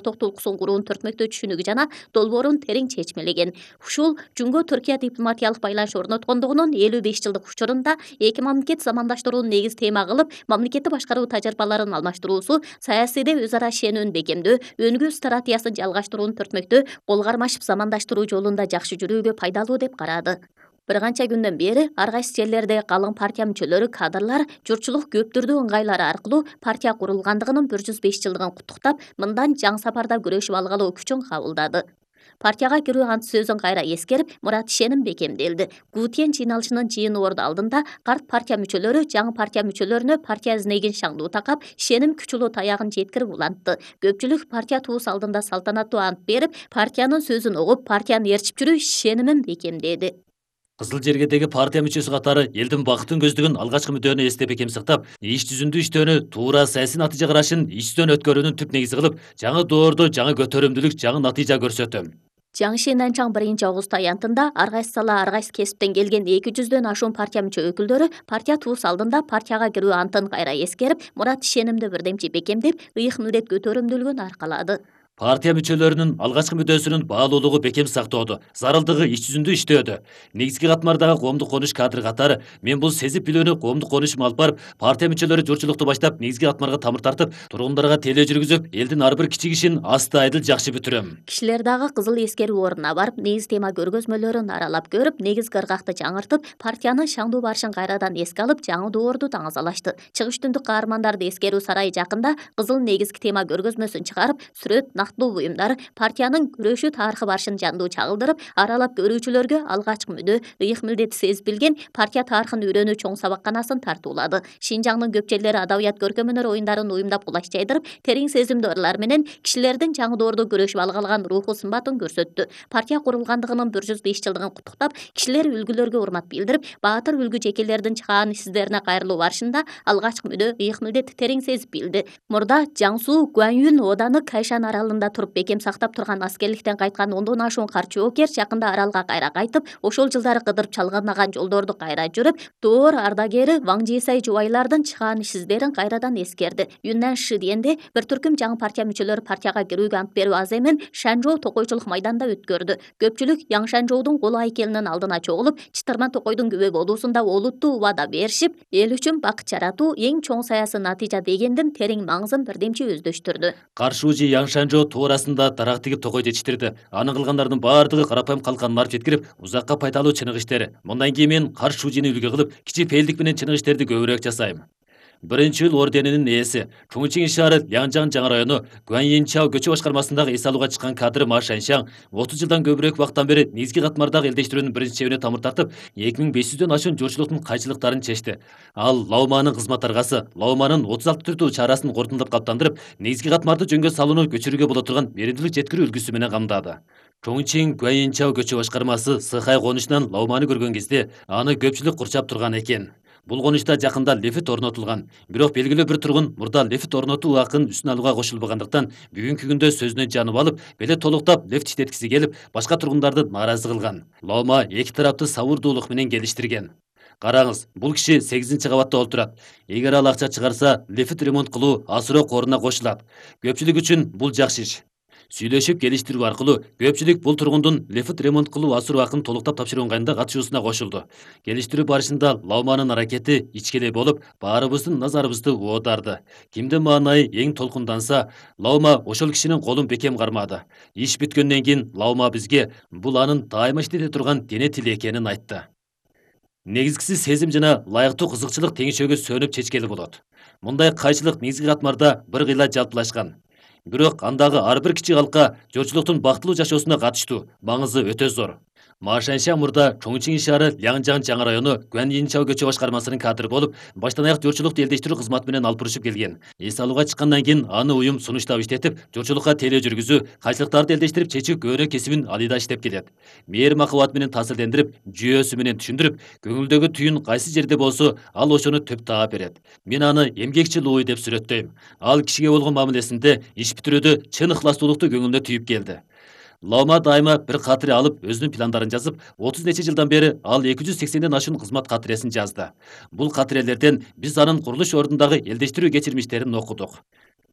токтулуксун куруунун төртмөктүү түшүнүгү жана долбоорун терең чечмелеген. Ушул Жумго Түркия дипломатиялык байланыш орноткондугунун 55 жылдык учурунда эки мамлекет замандаштырууну негиз тема кылып, мамлекетти башкаруу тажрыйбаларын алмаштыруусу, саясийде өз ара ишенүүнү бекемдөө, өнүгүү стратегиясын жалгаштыруунун төртмөктүү кол кармашып замандаштыруу жолунда жакшы жүрүүгө пайдалуу деп карады. Бир канча күндөн бери ар кайсы жерлерде калың партия мүчөлөрү, кадрлар журтчулук көптүрдүү ыңгайлары аркылуу партия курулгандыгынын 105 жылдыгын куттуктап, мындан жаңы сапарда күрөшүп алгалоо күчүн кабылдады. Партияга кирүү ант сөзүн кайра эскерип, Мурат Ишеним бекемделди. Гутиен жыйналышынын жыйын орду алдында карт партия мүчөлөрү жаңы партия мүчөлөрүнө партия изнегин шаңдуу такап, Ишеним күч улуу таягын жеткирип улантты. Көпчүлүк партия туус алдында салтанаттуу ант берип, партиянын сөзүн угуп, партияны ээрчип жүрүү Ишенимин бекемдеди. Кызыл жергедеги партия мүчөсү катары элдин бакытын көздөгөн алгачкы мүддөөнү эстеп бекем сактап, иш жүзүндө иштөөнү туура саясий натыйжа карашын ичтен өткөрүүнүн түп негизи кылып, жаңы доордо жаңы көтөрүмдүүлүк, жаңы натыйжа көрсөтөм. Жаңы Шенанчаң 1-август аянтында ар кайсы сала, ар кайсы кесиптен келген 200дөн ашуун партия мүчө өкүлдөрү партия туус алдында партияга кирүү антын кайра эскерип, Мурат Ишенимди бирдемчи бекемдеп, ыйык милдет көтөрүмдүүлүгүн аркалады. Партия мүчөлөрүнүн алгачкы мүддөсүнүн баалуулугу бекем сактоодо, зарылдыгы иш жүзүндө иштөөдө. Негизги катмардагы коомдук конуш кадры катары мен бул сезип билүүнү коомдук конушума алып барып, партия мүчөлөрү журтчулукту баштап, негизги катмарга тамыр тартып, тургундарга телөө жүргүзүп, элдин ар бир кичи ишин аста айдыл жакшы бүтүрөм. Кишилер дагы кызыл эскерүү ордуна барып, негиз тема көргөзмөлөрүн аралап көрүп, негизги ыргакты жаңыртып, партиянын шаңдуу барышын кайрадан эске алып, жаңы доорду таңазалашты. Чыгыш түндүк каармандарды эскерүү сарайы жакында кызыл негизги тема көргөзмөсүн чыгарып, сүрөт, нактылуу буюмдар, партиянын күрөшүү тарыхы барышын жандуу чагылдырып, аралап көрүүчүлөргө алгачкы мүдөө, ыйык милдети сезип билген партия тарыхын үйрөнүү чоң сабакканасын тартуулады. Шинжаңдын көп жерлери адабият көркөм өнөр оюндарын уюмдап кулаш жайдырып, терең сезимдүү ырлар менен кишилердин жаңы доордо күрөшүп алгалган руху сымбатын көрсөттү. Партия курулгандыгынын 105 жылдыгын куттуктап, кишилер үлгүлөргө урмат билдирип, баатыр үлгү жекелердин чыгаан издерине кайрылуу барышында алгачкы мүдөө, ыйык милдетти терең сезип билди. Мурда Жаңсуу Гуаньюн ооданы Кайшан аралында туруп бекем сактап турган аскерликтен кайткан 10дон ашуун карт жоокер жакында аралга кайра кайтып, ошол жылдары кыдырып чалгынаган жолдорду кайра жүрүп, доор ардагери Ваң Жисай жубайлардын чыгаан издерин кайрадан эскерди. Юннан Ши дегенде бир түркүм жаңы партия мүчөлөрү партияга кирүүгө ант берүү аземин Шанжоу токойчулук майданда өткөрдү. Көпчүлүк Яң Шанжоудун кол айкелинин алдына чогулуп, Чытырман токойдун күбө болуусунда олуттуу убада беришип, эл үчүн бакыт жаратуу эң чоң саясий натыйжа дегендин терең маңызын бирдемчи өздөштүрдү. Каршуужи Яң Шанжоо туурасында дарак тигип токой жетиштирди. Анын кылгандардын баардыгы карапайым калканын барып жеткирип, узакка пайдалуу чынык иштери. Мындан кийин мен Каршуужини үлгү кылып, кичи пейилдик менен чынык иштерди көбүрөөк жасайм. Биринчи ыл орденинин ээси, Чуңчиң шаары Янжан жаңы району Гуаньинчао көчө башкармасындагы эс алууга чыккан кадры Ма Шаншаң 30 жылдан көбүрөөк убакыттан бери негизги катмардагы элдештирүүнүн биринчи чебине тамыр тартып, 2500дөн ашуун журтчулуктун кайчылыктарын чечти. Ал Лауманын кызмат аргасы, Лауманын 36 түрдүү чарасын корутундап каптандырып, негизги катмарды жөнгө салууну көчүрүүгө боло турган беримдүүлүк жеткирүү үлгүсү менен камдады. Чоңчиң Гуаньинчао көчө башкармасы Сыхай конушунан Лауманы көргөн кезде аны көпчүлүк курчап турган экен. Бул конушта жакында лефит орнотулган. Бирок белгилүү бир тургун мурда лефит орнотуу акын үстүн алууга кошулбагандыктан бүгүнкү күндө сөзүнө жанып алып, беле толуктап лефт иштеткиси келип, башка тургундарды нааразы кылган. Лаума эки тарапты сабырдуулук менен келиштирген. Караңыз, бул киши 8-кабатта олтурат. Эгер ал акча чыгарса, лефит ремонт кылуу асыроо коруна кошулат. Көпчүлүк үчүн бул жакшы иш. Сүйлөшүп келиштирүү аркылуу көпчүлүк бул тургундун лефит ремонт кылуу асыроо акын толуктап тапшыруу ыңгайында катышуусуна кошулду. Келиштирүү барышында Лауманын аракети ичкеле болуп, баарыбыздын назарыбызды оодарды. Кимдин маанайы эң толкунданса, Лаума ошол кишинин колун бекем кармады. Иш бүткөндөн кийин Лаума бизге бул анын дайыма иштете турган дене тили экенин айтты. Негизгиси сезим жана ылайыктуу кызыкчылык теңшөөгө сөнүп чечкели болот. Мындай кайчылык негизги катмарда бир кыйла жалпылашкан. Бирок андагы ар бир кичи калка журтчулуктун бактылуу жашоосуна катыштуу, маңызы өтө зор. Ма Шаншаң мурда Чоңчиң шаары Янжан жаңы району Гуаньинчао көчө башкармасынын кадры болуп, баштан аяк журтчулукту элдештирүү кызматы менен алып урушуп келген. Эс алууга чыккандан кийин аны уюм сунуштап иштетип, журтчулукка телөө жүргүзүү, кайчылыктарды элдештирип чечүү көөнө кесибин алыйда иштеп келет. Мээр махабат менен таасирдендирип, жүйөөсү менен түшүндүрүп, көңүлдөгү түйүн кайсы жерде болсо, ал ошону төп таап берет. Мен аны эмгекчил ууй деп сүрөттөйм. Ал кишиге болгон мамилесинде иш бүтүрүүдө чын ыхластуулукту көңүлүнө түйүп келди. Лаума дайыма бир катыры алып, өзүнүн пландарын жазып, 30 нече жылдан бери ал 280ден ашуун кызмат катыресин жазды. Бул катырелерден биз анын курулуш ордундагы элдештирүү кечирмиштерин окудук.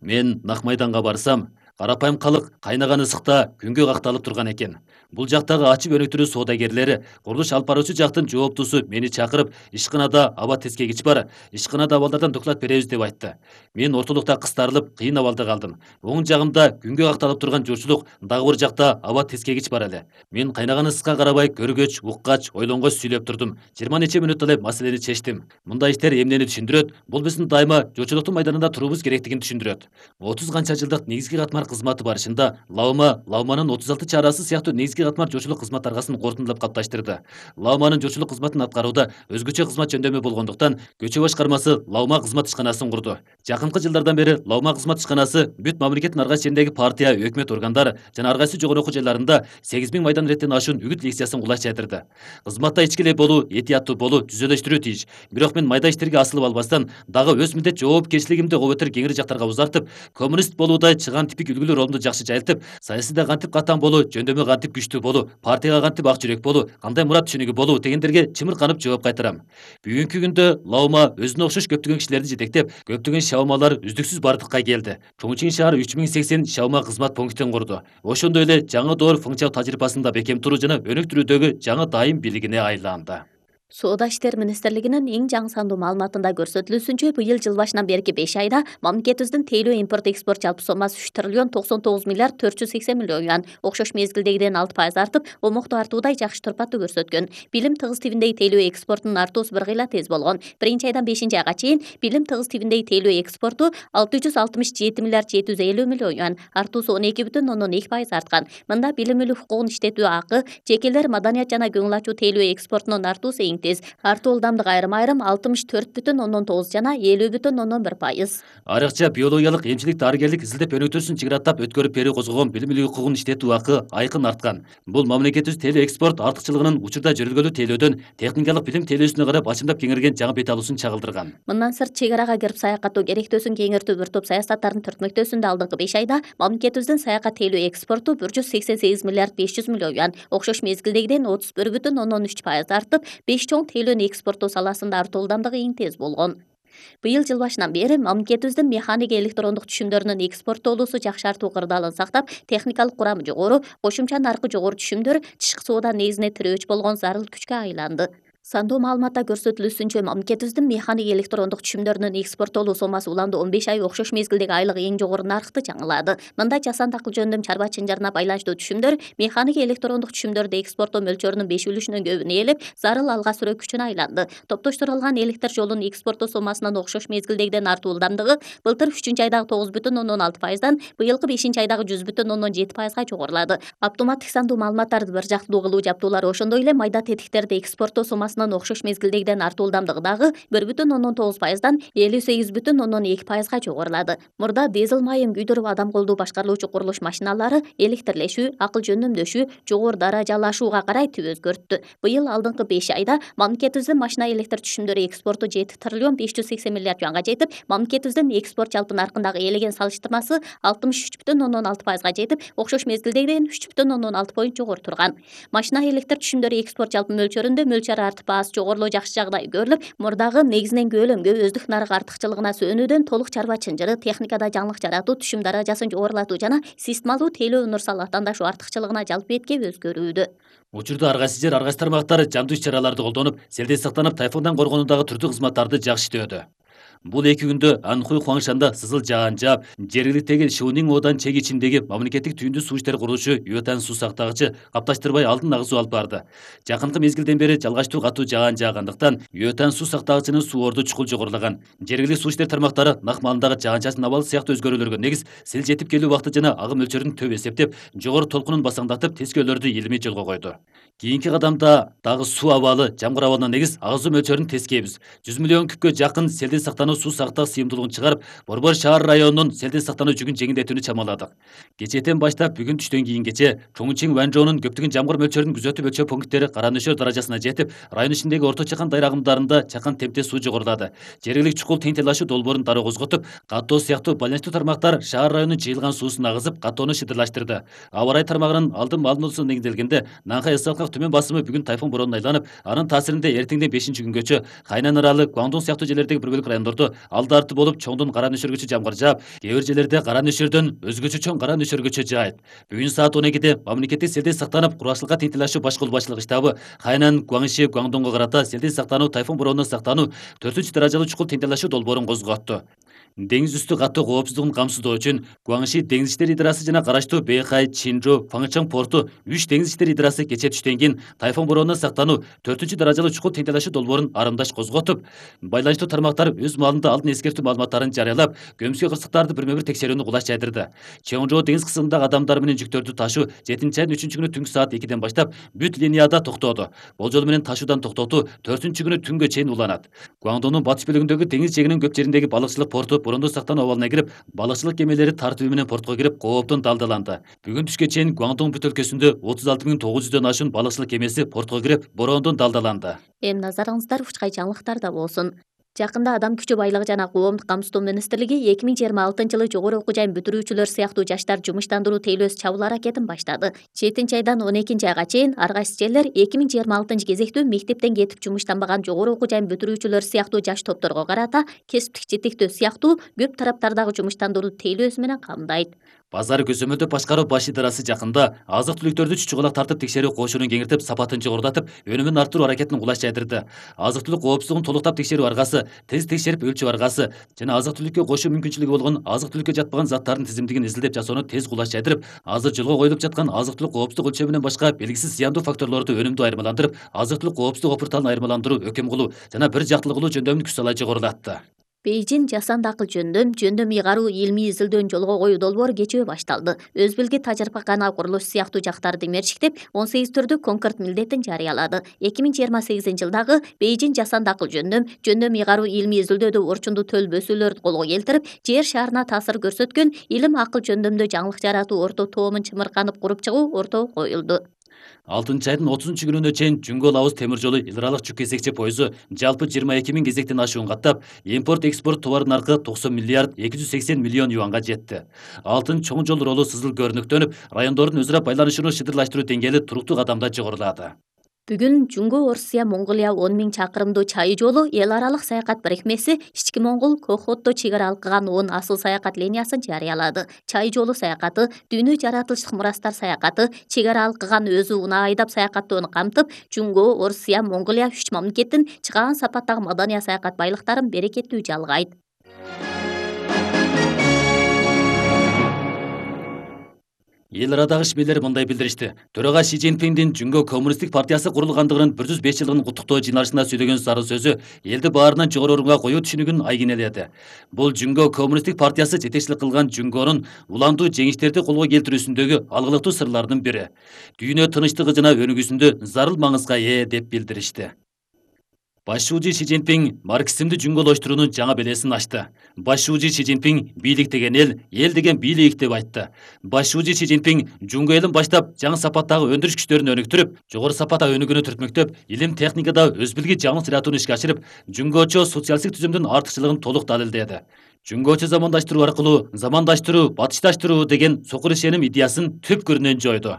Мен Нак майданга барсам, Карапайым калык кайнаган ысыкта күнгө какталып турган экен. Бул жактагы ачып өнүктүрүү соодагерлери курулуш алып баруучу жактын жооптусу мени чакырып, ишканада аба тескегич бар, ишканада абалдардан доклад беребиз деп айтты. Мен ортолукта кыстарылып, кыйын абалда калдым. Оң жагымда күнгө какталып турган журчулук, дагы бир жакта аба тескегич бар эле. Мен кайнаган ысыкка карабай көргөч, уккач, ойлонгоч сүйлөп турдум. 20 нече мүнөт эле маселени чечтим. Мындай иштер эмнени түшүндүрөт? Бул биздин дайыма журчулуктун майданында туруубуз керектигин түшүндүрөт. 30 канча жылдык негизги катмар кызматы барышында Лауманын 36 чарасы сыяктуу негизги катмар журчулук кызмат аргасын кортундулап калыпташтырды. Лауманын журчулук кызматын аткарууда өзгөчө кызмат жөндөмү болгондуктан Көчө башкармасы Лаума кызмат ишканасын курду. Жакынкы жылдардан бери Лаума кызмат ишканасы бүт мамлекеттин ар кайсы жериндеги партия, өкмөт органдары жана ар кайсы жогору окуу жайларында 8000 майдан иреттен ашуун үгүт лекциясын кулаш жайдырды. Кызматта ичкилей болуу, этияттуу болуу түзөлөштүрүү тийиш. Бирок мен майда иштерге асылып албастан, дагы өз милдет жоопкерчилигимди обетер кеңири жактарга узартып, коммунист болуудай чыган типик үлгүлүү ролумду жакшы жайылтып, саясийда кантип катан болуу, жөндөмү кантип күчтүү болуу, партияга кантип ак жүрөк болуу, кандай мурат түшүнүгү болуу дегендерге чымырканып жооп кайтарам. Бүгүнкү күндө Лаума өзүнө окшош көптөгөн кишилерди жетектеп, көптөгөн шаумалар үздүксүз бардыкка келди. Чоңчуң шаар 3080 шаума кызмат пунктин курду. Ошондой эле жаңы доор функциялык тажрыйбасында бекем туруу жана өнүктүрүүдөгү жаңы дайым бийлигине айланды. Соода иштер министрлигинин эң жаңы сандуу маалыматында көрсөтүлүүсүнчө, быйыл жыл башынан берки 5 айда мамлекетибиздин тейлөө импорт экспорт жалпы сомасы 3 триллион 99 миллиард 480 миллион юан, окшош мезгилдегиден 6% артып, омокту артуудай жакшы турпаттуу көрсөткөн. Билим тыгыз тибиндеги тейлөө экспортунун артуусу бир кыйла тез болгон. Биринчи айдан 5 айга чейин билим тыгыз тибиндеги тейлөө экспорту 667 миллиард 750 миллион юан, артуусу 12,2% арткан. Мында билим мүлүк хукугун иштетүү акы, жекелер маданият жана көңүл ачуу тейлөө экспортунун артуусу тез. Артуу ылдамдык айрым 64,9 жана 50,1%. Айрыкча биологиялык, эмчилик, дарыгерлик, изилдеп өнүктүрүүсүн чыгыраттап өткөрүп берүү козгогон билим мүлүк хукугун иштетүү акы айкын арткан. Бул мамлекетибиз тейлөө экспорт артыкчылыгынын учурда жүргүлгөлүү тейлөөдөн техникалык билим тейлөөсүнө карап ачымдап кеңейген жаңы бет алуусун чагылдырган. Мындан сырт чек арага кирип саякаттоо керектөөсүн кеңиртүү бир топ саясаттарын түртмөктөөсүндө алдыңкы 5 айда мамлекетибиздин саякат тейлөө экспорту 188 миллиард 500 миллион юан, окшош мезгилдегиден 31,3% артып, 5 чоң тейлөөнү экспорттоо саласында артуу ылдамдыгы эң тез болгон. Быйыл жыл башынан бери мамлекетибиздин механик электрондук түшүмдөрүнүн экспорттоолуусу жакшы артуу кырдаалын сактап, техникалык курамы жогору, кошумча наркы жогору түшүмдөр тышкы соода негизине тирөөч болгон зарыл күчкө айланды. Сандуу маалыматта көрсөтүлүүсүнчө, мамлекетибиздин механик электрондук түшүмдөрүнүн экспорттоолуу сомасы уламды 15 ай окшош мезгилдеги айлык эң жогору наркты жаңылады. Мында жасанды акыл жөндөм чарба чынжарына байланыштуу түшүмдөр механик электрондук түшүмдөрдү экспорттоо мөлчөрүнүн 5 үлүшүнөн көбүн ээлеп, зарыл алга сүрөө күчүнө айланды. Топтоштурулган электр жолунун экспорттоо сомасынын окшош мезгилдегиден артуу ылдамдыгы былтыр 3-айдагы 9,6%дан быйылкы 5-айдагы 100,7%га жогорулады. Автоматтык сандуу маалыматтарды бир жактуу кылуу жаптуулары, ошондой эле майда тетиктерди экспорттоо сомасы окшош мезгилдегиден артуу ылдамдыгы дагы 1,9%дан 58,2%га жогорулады. Мурда дизель майын күйдүрүп адам колдуу башкарылуучу курулуш машиналары электрлешүү, акыл жөндөмдөшүү, жогору даражалашууга карай түп өзгөрттү. Быйыл алдыңкы 5 айда мамлекетибиздин машина электр түшүмдөрү экспорту 7 триллион 580 миллиард юанга жетип, мамлекетибиздин экспорт жалпы наркындагы ээлеген салыштырмасы 63,6%га жетип, окшош мезгилдегиден 3,6 поинт жогору турган. Машина электр түшүмдөрү экспорт жалпы мөлчөрүндө мөлчөр артып аз жогорулоо жакшы жагдай көрүлүп, мурдагы негизинен көөлөмгө өздүк нарык артыкчылыгына сөөнүүдөн толук чарба чынжыры, техникада жаңылык жаратуу, түшүм даражасын жогорулатуу жана системалуу тейлөө универсал аттандашуу артыкчылыгына жалпы бетке өзгөрүүдө. Учурда ар кайсы жер, ар кайсы тармактар жандуу иш-чараларды колдонуп, селден сактанып, тайфундан коргонуудагы түрдүү кызматтарды жакшы иштөөдө. Бул 2 күндө Анхуй Хуаңшанда сызыл жаан жаап, жергиликтеги Шунин Одан чек ичиндеги мамлекеттик түйүндүү суу иштери курулушу Юэтан суу сактагычы капташтырбай алдын агызуу алып барды. Жакынкы мезгилден бери жалгачтуу катуу жаан жаагандыктан Юэтан суу сактагычынын суу орду чукул жогорулаган. Жергиликтүү суу иштери тармактары нак маалындагы жаан-чачын абалы сыяктуу өзгөрүүлөргө негиз сел жетип келүү убакыты жана агым мөлчөрүн төп эсептеп, жогору толкунун басаңдатып, тескөөлөрдү илимий жолго койду. Кийинки кадамда дагы суу абалы, жамгыр абалына негиз агызуу мөлчөрүн тескейбиз. 100 миллион күпкө жакын селден сактануу суу сактоо сыйымдуулугун чыгарып, Борбор шаар районунун селден сактануу жүгүн жеңилдетүүнү чамаладык. Кечээден баштап бүгүн түштөн кийингече Чоңчуң Ванжоонун көптөгөн жамгыр мөлчөрүн күзөтүп өлчөө пункттери кара нөшөр даражасына жетип, район ичиндеги орто чакан дайыр агымдарында чакан темпте суу жогорулады. Жергиликтик чукул теңтелашуу долбоорун дароо козготуп, каттоо сыяктуу байланыштуу тармактар шаар районунун жыйылган суусун агызып, каттоону шыдырлаштырды. Аба ырайы тармагынын алдын маалыматына негизделгенде, Нанхай ысыкалык түмөн басымы бүгүн тайфун боронуна айланып, анын таасиринде эртеңден 5-күнгөчө Хайнан аралы, Гуандун сыяктуу жерлердеги бир бөлүк райондордо учурдо алды арты болуп чоңдон кара нөшөргөчө жамгыр жаап, кээ бир жерлерде кара нөшөрдөн өзгөчө чоң кара нөшөргөчө жаайт. Бүгүн саат 12-де мамлекеттик селдей сактанып, кургакчылыкка тентелешүү баш колбасчылык штабы Хайнан, Гуаңши, Гуаңдоңго карата селдей сактануу, тайфун бороону сактануу 4-даражалуу чукул тентелешүү долбоорун козготту. Деңиз үстү катуу коопсуздугун камсыздоо үчүн Гуаңши деңиз иштери идарасы жана караштуу Бэйхай, Чинжу, Фаңчан порту 3 деңиз иштери идарасы кечээ түштөн кийин тайфун бороону сактануу 4-даражалуу чукул тентелешүү долбоорун арымдаш козготуп, байланыштуу тармактар өз маалында алдын эскертүү маалыматтарын жарыялап, көмүскө кырсыктарды бирме-бир текшерүүнү кулаш жайдырды. Чоңжоо деңиз кысымындагы адамдар менен жүктөрдү ташуу 7-айдын 3-күнү түнкү саат 2-ден баштап бүт линияда токтоду. Болжол менен ташуудан токтотуу 4-күнү түнгө чейин уланат. Гуаңдоңдун батыш бөлүгүндөгү деңиз жээгинин көп жериндеги балыкчылык порту бороондон сактануу абалына кирип, балыкчылык кемелери тартиби менен портко кирип, кооптон далдаланды. Бүгүн түшкө чейин Гуаңдоң бүт өлкөсүндө 36.900дөн ашуун балыкчылык кемеси портко кирип, бороондон далдаланды. Эми назарыңыздар учкай жаңылыктарда болсун. Жакында Адам күчү байлыгы жана коомдук камсыздоо министрлиги 2026-жылы жогору окуу жайын бүтүрүүчүлөр сыяктуу жаштар жумуштандыруу тейлөөсү чабуул аракетин баштады. 7-айдан 12-айга чейин ар кайсы жерлер 2026-кезектүү мектептен кетип жумуштанбаган жогору окуу жайын бүтүрүүчүлөр сыяктуу жаш топторго карата кесиптик жетектөө сыяктуу көп тараптардагы жумуштандыруу тейлөөсү менен камдайт. Базар көзөмөлдөө башкаруу баш идарасы жакында азык-түлүктөрдү чучугулак тартып текшерүү кошунун кеңиртип, сапатын жогорулатып, өнүмүн арттыруу аракетин кулаш жайдырды. Азык-түлүк коопсуздугун толуктап текшерүү аргасы, тез текшерип өлчөп аргасы жана азык-түлүккө кошуу мүмкүнчүлүгү болгон азык-түлүккө жатпаган заттардын тизимдигин изилдеп жасоону тез кулаш жайдырып, азыр жолго коюлуп жаткан азык-түлүк коопсуздук өлчөмүнөн башка белгисиз зыяндуу факторлорду өнүмдүү айырмаландырып, азык-түлүк коопсуздук опурталын айырмаландыруу, өкөм кылуу жана бир жактылыгылуу жөндөмүн күч сала жогорулатты. Бейжин жасанды акыл жөндөм ыйгаруу илмий изилдөөнү жолго коюу долбоору кечээ башталды. Өз билги тажрыйбакана курулуш сыяктуу жактарды мерчиктеп, 18 түрдүү конкурс милдетин жарыялады. 2028-жылдагы Бейжин жасанды акыл жөндөм ыйгаруу илмий изилдөөдө орчундуу төл бөсүүлөрдү колго келтирип, жер шарына таасир көрсөткөн илим акыл жөндөмдө жаңылык жаратуу орто тоомун чымырканып куруп чыгуу ортого коюлду. 6-айдын 30-күнүнө чейин Жүнгөл Ауыз темир жолу эл аралык жүк кезекчи пойузу жалпы 22.000 кезектен ашуун каттап, импорт-экспорт товар наркы 90 миллиард 280 миллион юанга жетти. Алтын чоң жол ролу сызыл көрүнүктөнүп, райондордун өзара байланышууну шыдырлаштыруу деңгээли туруктуу кадамда жогорулады. Бүгүн Жүнгө Орусия Монголия 10.000 чакырымдуу чайы жолу эл аралык саякат бирикмеси Ички Монгол Кохотто чек ара алкыган 10 асыл саякат линиясын жарыялады. Чай жолу саякаты, дүйнө жаратылыштык мурастар саякаты, чек ара алкыган өзү унаа айдап саякаттоону камтып, Жүнгө Орусия Монголия 3 мамлекеттин чыгаан сапаттагы маданий саякат байлыктарын берекеттүү жалгайт. Эл арадагы ишмерлер мындай билдиришти. Төрага Ши Цзиньпиндин Жүнгө коммунисттик партиясы курулгандыгынын 105 жылдыгын куттуктоо жыйналышында сөйлөгөн зарыл сөзү элди баарынан жогору орунга коюу түшүнүгүн айгинеледи. Бул Жүнгө коммунисттик партиясы жетекчилик кылган Жүнгөнүн уландуу жеңиштерди колго келтирүүсүндөгү алгылыктуу сырлардын бири. Дүйнө тынычтыгы жана өнүгүүсүндө зарыл маңызга ээ деп билдиришти. Башчуучу Ши Цзиньпин марксизмди жүнгөлөштүрүүнүн жаңа белесин ачты. Башчуучу Ши Цзиньпин бийлик деген эл деген бийлик деп айтты. Башчуучу Ши Цзиньпин жүнгө элин баштап жаңы сапаттагы өндүрүш күчтөрүн өнүктүрүп, жогору сапатта өнүгүүнү түртмөктөп, илим техникада өз билги жаңылык жаратууну ишке ашырып, жүнгөчө социалисттик түзүмдүн артыкчылыгын толук далилдеди. Жүнгөчө замандаштыруу аркылуу замандаштыруу, батышташтыруу деген сокур ишеним идеясын түпкүрүнөн жойду.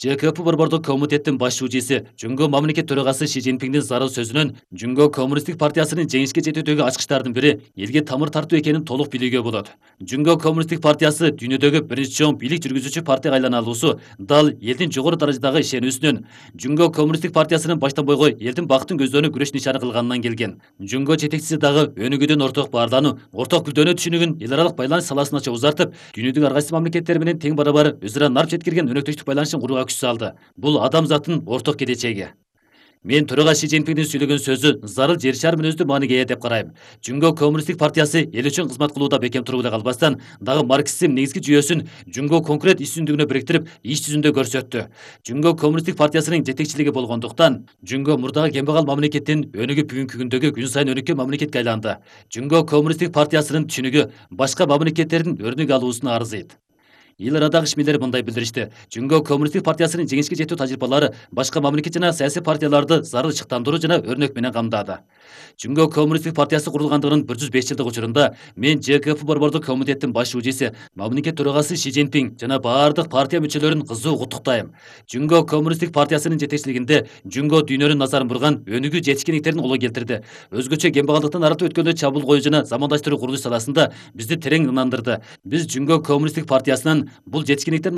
ЖКП борбордук комитеттин башчуучусу Жүнгө мамлекет төрагасы Ши Цзиньпиндин зарыл сөзүнөн Жүнгө коммунисттик партиясынын жеңишке жетүүдөгү ачкычтардын бири элге тамыр тартуу экенин толук билүүгө болот. Жүнгө коммунисттик партиясы дүйнөдөгү биринчи чоң бийлик жүргүзүүчү партияга айлана алуусу дал элдин жогору даражадагы ишенүүсүнөн, Жүнгө коммунисттик партиясынын баштан бойго элдин бактын көздөрүнү күрөш нишаны кылганынан келген. Жүнгө жетекчиси дагы өнүгүүдөн орток баарлануу, орток гүлдөнүү түшүнүгүн эл аралык байланыш саласына узартып, дүйнөдөгү ар кайсы мамлекеттер менен тең барабар өзара нарп жеткирген өнөктөштүк байланышын курууга күч салды. Бул адамзаттын орток келечеги. Мен төрага Ши Цзиньпиндин сүйлөгөн сөзү зарыл жер шары мүнөздүү мааниге ээ деп карайм. Жүнгө коммунисттик партиясы эл үчүн кызмат кылууда бекем туруп эле калбастан, дагы марксизм негизги жүйөсүн Жүнгө конкрет иш жүзүндүгүнө бириктирип, иш жүзүндө көрсөттү. Жүнгө коммунисттик партиясынын жетекчилиги болгондуктан, Жүнгө мурдагы кембагал мамлекеттин өнүгүп бүгүнкү күндөгү күн сайын өнүккөн мамлекетке айланды. Жүнгө коммунисттик партиясынын түшүнүгү башка мамлекеттердин өрнөк алуусуна арзыйт. Эл арадагы ишмерлер мындай билдиришти. Жүнгө Коммунисттик партиясынын жеңишке жетүү тажрыйбалары башка мамлекет жана саясий партияларды зарыл чыктандыруу жана өрнөк менен камдады. Жүнгө Коммунисттик партиясы курулгандыгынын 105 жылдык учурунда мен ЖКФ борбордук комитеттин баш уужиси, мамлекет төрагасы Ши Цзиньпин жана баардык партия мүчөлөрүн кызуу куттуктайм. Жүнгө Коммунисттик партиясынын жетекчилигинде Жүнгө дүйнөнүн назарын бурган өнүгүү жетишкендиктерин улоо келтирди. Өзгөчө кембагалдыктан арылтып өткөндө чабуул коюу жана замандаштыруу курулуш саласында бизди терең ынандырды. Биз Жүнгө Коммунисттик партиясынан бул жетишкендиктердин